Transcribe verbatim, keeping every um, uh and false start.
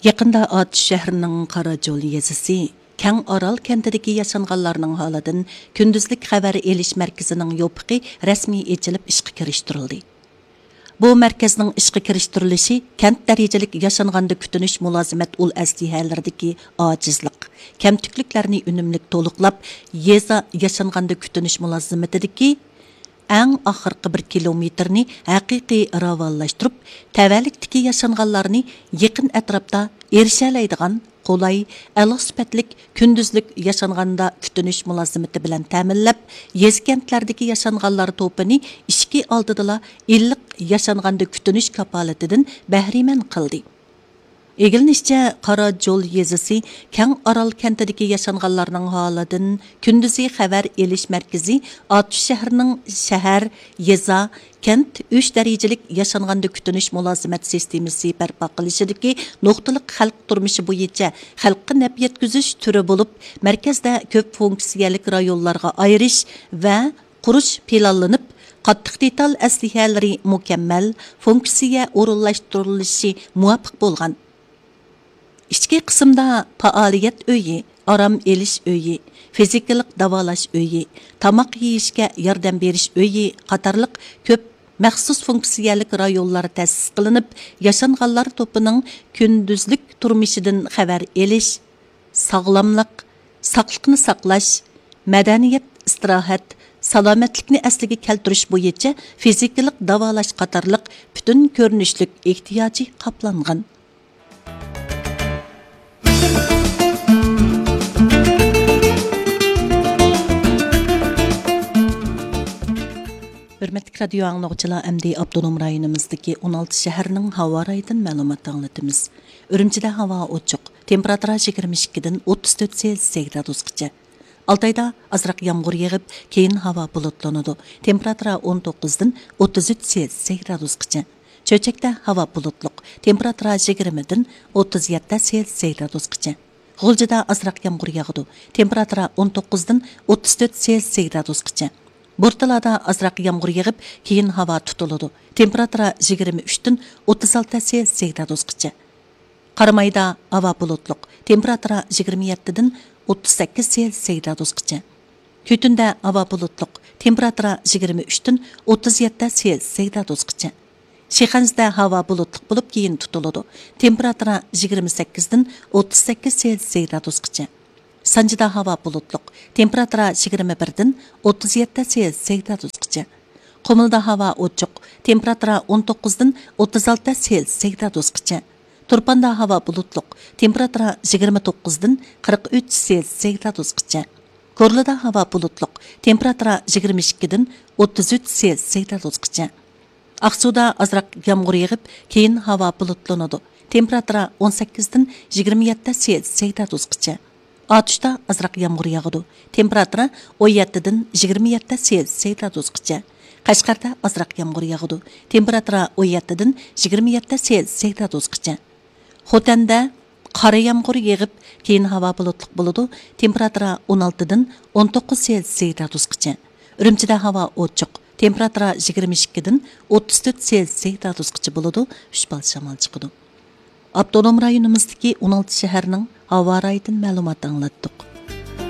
يېقىندا ئاتۇش شەھىرىنىڭ قاراجول يېزىسى كەڭ ئارال كەنتىدىكى ياشانغانلارنىڭ ھالىدىن كۈندۈزلۈك خەۋەر ئېلىش مەركىزىنىڭ يوپۇقى رەسمىي ئېچىلىپ ئىشقا كىرىشتۈرۈلدى. بۇ مەركەزنىڭ ئىشقا كىرىشتۈرۈلۈشى كەنت دەرىجىلىك ياشانغاندا كۈتۈنۈش مۇلازىمەت ئۇل ئەسلىھەلىرىدىكى ئاجىزلىق، كەمتۈكلۈكلەرنى ئۈنۈملۈك تولۇقلاپ، يېزا ياشانغاندا كۈتۈنۈش مۇلازىمىتىدىكى ئەڭ ئاخىرقى بىر كىلومېتىرنى ھەقىقىي راۋانلاشتۇرۇپ، تەۋەلىكتىكى ياشانغانلارنى يېقىن ئەتراپتا ئېرىشەلەيدىغان قولاي، ئەلا سۈپەتلىك كۈندۈزلۈك ياشانغاندا كۈتۈنۈش مۇلازىمىتى بىلەن تەمىنلەپ، يېزا كەنتلەردىكى ياشانغانلار توپىنى ئىشىكى ئالدىدىلا ئىللىق ياشانغاندا كۈتۈنۈش كاپالىتىدىن بەھرىمەن قىلدى. ئىگىلىنىشىچە، قاراجول يېزىسى كەڭ ئارال كەنتىدىكى ياشانغانلارنىڭ ھالىدىن كۈندۈزى خەۋەر ئېلىش مەركىزى ئاتۇش شەھىرىنىڭ شەھەر، يېزا، كەنت ئۈچ دەرىجىلىك ياشانغاندا كۈتۈنۈش مۇلازىمەت سىستېمىسى بەرپا قىلىشىدىكى نۇقتىلىق خەلق تۇرمۇشى بويىچە خەلققە نەپ يەتكۈزۈش تۈرى بولۇپ، مەركەزدە كۆپ فۇنكسىيەلىك رايونلارغا ئايرىش ۋە قۇرۇش پىلانلىنىپ، قاتتىق دېتال ئەسلىھەلىرى مۇكەممەل، فۇنكسىيە ئورۇنلاشتۇرۇلۇشى مۇۋاپىق بولغان. ئىچكى قىسىمدا پائالىيەت ئۆيى، ئارام ئېلىش ئۆيى، فىزىكىلىق داۋالاش ئۆيى، تاماق يېيىشكە ياردەم بېرىش ئۆيى قاتارلىق كۆپ مەخسۇس فۇنكسىيەلىك رايونلار تەسىس قىلىنىپ، ياشانغانلار توپىنىڭ كۈندۈزلۈك تۇرمۇشىدىن خەۋەر ئېلىش، ساغلاملىق، ساقلىقنى ساقلاش، مەدەنىيەت، ئىستىراھەت، سالامەتلىكنى ئەسلىگە كەلتۈرۈش بويىچە فىزىكىلىق داۋالاش قاتارلىق پۈتۈن كۆرۈنۈشلۈك ئېھتىياجى قاپلانغان. ھۆرمەتلىك رادىيو ئاڭلىغۇچىلار، ئەمدى ئاپتونوم رايونىمىزدىكى ئون ئالتە شەھەرنىڭ ھاۋا رايىدىن مەلۇمات ئاڭلىتىمىز. ئۈرۈمچىدە ھاۋا ئوچۇق، تېمپېراتۇرا يىگىرمە ئىككىدىن ئوتتۇز تۆت سېلسىيە گرادۇسقىچە. ئالتايدا ئازراق يامغۇر يېغىپ، كېيىن ھاۋا بۇلۇتلىنىدۇ. تېمپېراتۇرا ئون توققۇزدىن ئوتتۇز ئۈچ سېلسىيە گرادۇسقىچە. چۆچەكتە ھاۋا بۇلۇتلۇق، تېمپېراتۇرا يىگىرمىدىن ئوتتۇز يەتتە سېلسىيە گرادۇسقىچە. غۇلجىدا ئازراق يامغۇر ياغىدۇ، تېمپېراتۇرا ئون توققۇزدىن ئوتتۇز تۆت سېلسىيە گرادۇسقىچە. بورتالادا ئازراق يامغۇر يېغىپ، كېيىن ھاۋا تۇتۇلىدۇ، تېمپېراتۇرا يىگىرمە ئۈچتىن ئوتتۇز ئالتە سېلسىيە گرادۇسقىچە. قارامايدا ھاۋا بۇلۇتلۇق، تېمپېراتۇرا يىگىرمە يەتتىدىن ئوتتۇز سەككىز سېلسىيە گرادۇسقىچە. كۈتۈندە ھاۋا بۇلۇتلۇق، تېمپېراتۇرا يىگىرمە ئۈچتىن ئوتتۇز يەتتە سېلسىيە گرادۇسقىچە. شىخەنزىدە ھاۋا بۇلۇتلۇق بولۇپ، كېيىن تۇتۇلىدۇ، تېمپېراتۇرا يىگىرمە سەككىزدىن ئوتتۇز سەككىز سېلسىيە گرادۇسقىچە. سانجىدا ھاۋا بۇلۇتلۇق، تېمپېراتۇرا يىگىرمە بىردىن ئوتتۇز يەتتە سېلسىيە گرادۇسقىچە. قۇمۇلدا ھاۋا ئوچۇق، تېمپېراتۇرا ئون توققۇزدىن ئوتتۇز ئالتە سېلسىيە گرادۇسقىچە. تۇرپاندا ھاۋا بۇلۇتلۇق، تېمپېراتۇرا يىگىرمە توققۇزدىن قىرىق ئۈچ سېلسىيە گرادۇسقىچە. كورلىدا ھاۋا بۇلۇتلۇق، تېمپېراتۇرا يىگىرمە ئىككىدىن ئوتتۇز ئۈچ سېلسىيە گرادۇسقىچە. ئاقسۇدا ئازراق يامغۇر يېغىپ، كېيىن ھاۋا بۇلۇتلىنىدۇ، تېمپېراتۇرا ئون سەككىزدىن يىگىرمە يەتتە سېلسىيە گرادۇسقىچە. ئاتۇشتا ئازراق يامغۇر ياغىدۇ، تېمپېراتۇرا ئون يەتتىدىن يىگىرمە يەتتە سېلسىيە گرادۇسقىچە. قەشقەردە ئازراق يامغۇر ياغىدۇ، تېمپېراتۇرا ئون يەتتىدىن يىگىرمە يەتتە سېلسىيە گرادۇسقىچە. خوتەندە قارا يامغۇر يېغىپ، كېيىن ھاۋا بۇلۇتلۇق بولىدۇ، تېمپېراتۇرا ئون ئالتىدىن ئون توققۇز سېلسىيە گرادۇسقىچە. ئۈرۈمچىدە ھاۋا ئوچۇق، تېمپېراتۇرا يىگىرمە ئىككىدىن ئوتتۇز تۆت سېلسىيە گرادۇسقىچە بولىدۇ، ئۈچ بال شامال چىقىدۇ. ئاپتونوم رايونىمىزدىكى ئون ئالتە شەھەرنىڭ ھاۋا رايىدىن مەلۇمات ئاڭلاتتۇق.